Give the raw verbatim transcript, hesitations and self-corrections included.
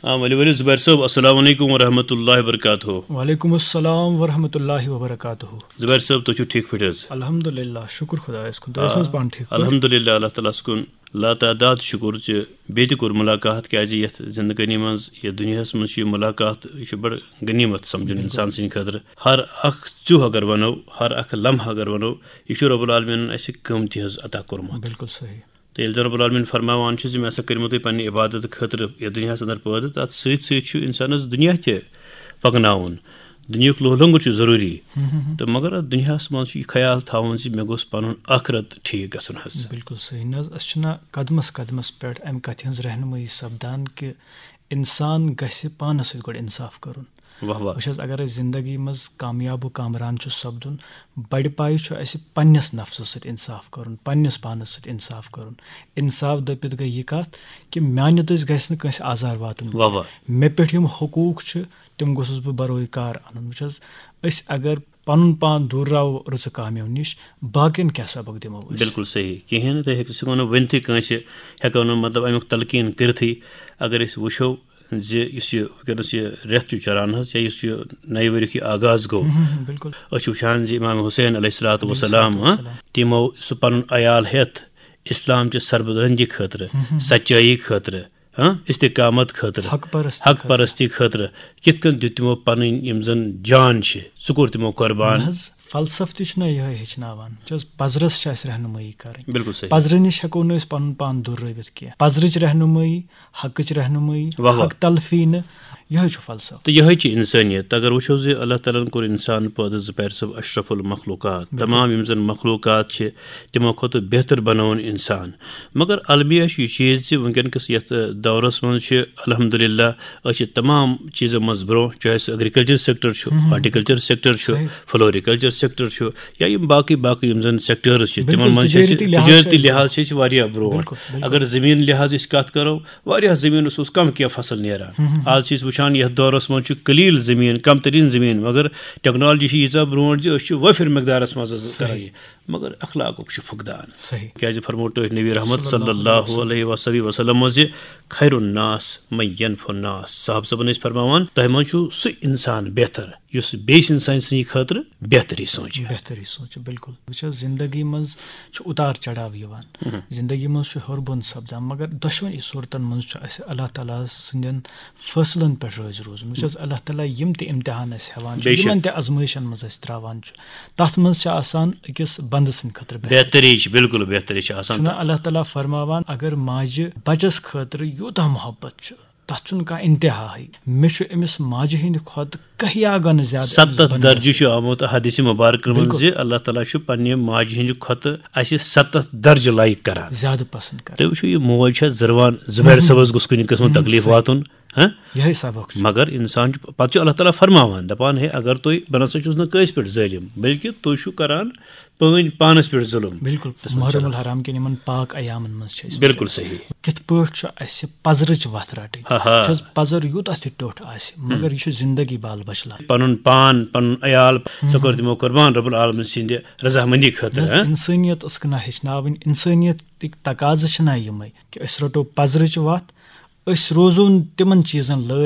آ، ؤلِو، ؤلِو، زُبیر صٲب، السلام علیکم ورحمۃ اللہ وبرکاتہ۔ وعلیکم السلام ورحمۃ اللہ وبرکاتہ۔ زُبیر صٲب، تُہۍ چھِو ٹھیٖک پٲٹھۍ حظ؟ الحمدللہ، شُکُر خۄدایَس کُن۔ تُہۍ ٲسِو حظ پانہٕ ٹھیٖک پٲٹھۍ؟ الحمدللہ، اللہ تعالیٰ ہَس کُن لاتعداد شُکُر زِ بیٚیہِ تہِ کوٚر مُلاقات، کیٛازِ یَتھ زِندگٲنی منٛز، یَتھ دُنیاہَس منٛز چھُ یہِ مُلاقات، یہِ چھُ بَڑٕ غنیٖمت سَمجھُن اِنسان سٕنٛدِ خٲطرٕ۔ ہر اَکھ ژیوٚہ اگر وَنو، ہر اَکھ لمحہٕ اگر وَنو، یہِ چھُ رب العالمیٖنَن اَسہِ قۭمتی حظ عطا کوٚرمُت۔ بِلکُل صحیح۔ تہٕ ییٚلہِ زَن رب العالمیٖن فرماوان چھُ زِ مےٚ ہسا کٔرمو تُہۍ پننہِ عبادت خٲطرٕ یَتھ دُنیاہَس اندر پٲدٕ، تَتھ سۭتۍ سۭتۍ چھُ اِنسانَس دُنیا تہِ پَکناوُن۔ دُنیاہُک لوہ لنگر چھُ ضروٗری۔ تہٕ مگر اَتھ دُنیاہَس منٛز چھُ یہِ خیال تھاوُن زِ مےٚ گوٚژھ پَنُن ٲخرت ٹھیٖک گژھُن حظ۔ بِلکُل صحیح۔ نہ حظ، أسۍ چھِنہ قدمس قدمس پٮ۪ٹھ اَمہِ کَتھِ ہٕنٛز رہنمٲیی سپدان کہِ اِنسان گژھِ پانَس سۭتۍ گۄڈٕ اِنصاف کَرُن۔ واہ واہ۔ وٕچھ حظ، اگر أسۍ زندگی منٛز کامیاب و کامران چھُ سپدُن، بڑِ پایہِ چھُ اَسہِ پننِس نفسس سۭتۍ انصاف کرُن، پننِس پانس سۭتۍ انصاف کرُن۔ انصاف دٔپِتھ گٔے یہِ کتھ کہِ میانہِ دٔسۍ گژھِ نہٕ کٲنٛسہِ آزار واتُن۔ واہ واہ۔ مےٚ پٮ۪ٹھ یِم حقوٗق چھِ، تِم گوٚژھُس بہٕ بروے کار انُن۔ وٕچھ حظ، أسۍ اگر پنُن پان دوٗر راوو رٕژٕ کامیو نِش، باقین کیٛاہ سبق دِمو أسۍ؟ بِلکُل صحیح۔ کِہیٖنۍ نہٕ، تُہۍ ہیٚکِو سُہ ؤنِتھ، ؤنتھٕے کٲنٛسہِ ہٮ۪کو نہٕ، مطلب، اَمیُک تلقیٖن کٔرِتھٕے۔ اگر أسۍ وٕچھو زِ یُس یہِ وٕنکیٚنَس یہِ رٮ۪تھ چھُ چلان حظ، یا یُس یہِ نَیہِ ؤریُک یہِ آغاز گوٚو، ہم، ہم، بِلکُل۔ أسۍ چھِ وٕچھان زِ امام حسین علیہ الصلوۃ والسلام، علیہ الصلوۃ ہاں، تِمو سُہ پنُن عیال ہٮ۪تھ اسلام چہِ سربلندی خٲطرٕ، سچٲیی خٲطرٕ، ہاں، استقامت خٲطرٕ، حق پرستی حق پرستی خٲطرٕ کِتھ کٔنۍ دیُت تِمو پنٕنۍ یِم زن جان چھِ، سُہ کوٚر تِمو قۄربان۔ نہ حظ، فلسفہٕ تہِ چھُنہ یِہوٚے ہیٚچھناوان۔ وٕچھ حظ، پزرس چھِ اَسہِ رہنمٲیی کرٕنۍ۔ بِلکُل صحیح۔ پزرٕ نِش ہٮ۪کو نہٕ أسۍ پنُن پان دوٗر رٲوِتھ کینٛہہ۔ پزرٕچ رہنمٲیی، حقٕچ رہنمٲیی، واہ واہ۔ حق تلفی نہٕ، یِہوٚے چھُ فلسفہٕ۔ تہٕ یِہوٚے چھِ اِنسٲنیت۔ اگر وٕچھو زِ اللہ تعالیٰ ہَن کوٚر اِنسان پٲدٕ، زُبیر صٲب، اشرف المخلوقات، تمام یِم زَن مخلوقات چھِ، تِمو کھۄتہٕ بہتر بَنووُن اِنسان۔ مگر المیہ چھُ یہِ چیٖز زِ وٕنکیٚن کِس یَتھ، ٲ، دورَس منٛز چھِ الحمدللہ أسۍ چھِ تمام چیٖزو منٛز برونٛہہ، چاہے سُہ ایگریکلچر سیکٹر چھُ، ہارٹیکلچر سیکٹر چھُ، فلوریکلچر سیکٹر چھُ، یا یِم باقٕے باقٕے یِم زَن سیکٹرز چھِ، تِمن بِلکُل، منٛز چھِ أسۍ تجٲرتی لحاظ چھِ تجٲرتی أسۍ لحاظ چھِ أسۍ واریاہ برونٛہہ۔ بِلکُل، بِلکُل۔ اگر زٔمیٖن لحاظ أسۍ کَتھ کَرو، واریاہ زٔمیٖنَس اوس کم کینٛہہ فصل نیران۔ آز چھِ أسۍ وٕچھان یَتھ دورَس منٛز چھُ قلیل زٔمیٖن، کم تریٖن زٔمیٖن، مگر ٹیکنالوجی چھِ ییٖژاہ برونٛٹھ زِ أسۍ چھِ وٲفِر مقدارَس منٛز حظ کران یہِ، مگر اخلاقُک چھُ فقدان۔ صحیح۔ کیازِ فرموو تۄہہِ نبی رحمت صلی اللہ علیہ وسلم زِ خیر الناس من ینفع الناس۔ صاحب صٲبن ٲسۍ فرماوان، تۄہہِ منٛز چھُ سُہ انسان بہتر یُس بیٚیِس انسان سٕنٛدِ خٲطرٕ بہتری سونٛچہِ۔ بہتری سونٛچہِ، بِلکُل۔ وٕچھ حظ، زندگی منٛز چھُ اُتار چڑاو یِوان۔ زندگی منٛز چھُ ہیوٚر بۄن سپدان، مگر دۄشوٕنی صوٗرتن منٛز چھُ اَسہِ اللہ تعالیٰ سٕنٛدٮ۪ن فٲصلن پٮ۪ٹھ رٲضۍ روزُن۔ وٕچھ حظ، اللہ تعالیٰ یِم تہِ امتحان اَسہِ ہٮ۪وان چھُ، بے شک۔ یِمن تہِ آزمٲیشن منٛز أسۍ تراوان چھُ، تتھ منٛز چھِ آسان أکِس بندٕ سٕنٛدِ خٲطرٕ بہتر۔ بہتری چھِ، بِلکُل بہتری چھِ آسان۔ چھُنہ اللہ تعالیٰ فرماوان، اگر ماجہِ بچس خٲطرٕ یوٗتاہ محبت چھُ، تتھ چھُنہٕ کانٛہہ انتہاہٕے۔ مےٚ چھُ أمِس ماجہِ ہٕنٛدِ کھۄتہٕ کہیا گنہٕ زیادٕ أمِس ستتھ بننس۔ درجہٕ چھُ آمُت حدیث مبارک منٛز بِلکُل۔ زِ اللہ تعالیٰ چھُ پننہِ ماجہِ ہٕنٛدِ کھۄتہٕ اَسہِ ستتھ درجہٕ لایق کران۔ زیادٕ پسند کران۔ تُہۍ وٕچھِو، یہِ موج چھےٚ زِروان، زُبیر صٲبس گوٚژھ کُنہِ قٕسمہٕ تکلیٖف واتُن، ہاں؟ یِہوٚے سبق چھُ۔ مگر انسان چھُ، پتہٕ چھُ اللہ تعالیٰ فرماوان، دپان، ہے، اگر تُہۍ، بہٕ نسا چھُس نہٕ کٲنٛسہِ پٮ۪ٹھ ظٲلِم، بلکہِ تُہۍ چھِو کران پٲنۍ پانس پٮ۪ٹھ ظُلم۔ بِلکُل، تَس منٛز محرم چلان۔ الحرام کٮ۪ن یِمن پاک ایامن منٛز چھِ أسۍ بِلکُل صحیح۔ کِتھ پٲٹھۍ چھُ اَسہِ پزرٕچ وَتھ رَٹٕنۍ؟ ہا ہا۔ چھِ حظ پَزر یوٗتاہ تہِ ٹیوٚٹھ آسہِ، مگر یہِ چھُ زِندگی بال بچلان۔ پنُن پان، پنُن عیال، سُہ کوٚر تِمو قۄربان رب العالمین سٕنٛدِ رضامندی خٲطرٕ، ہاں؟ اِنسٲنیت ٲسکھ نہ ہیٚچھناوٕنۍ، اِنسٲنیتٕکۍ تقاضہٕ چھِ نہ یِمے کہِ أسۍ رَٹو پَزرٕچ وَتھ، أسۍ روزو نہٕ تِمن چیٖزن لٲرۍ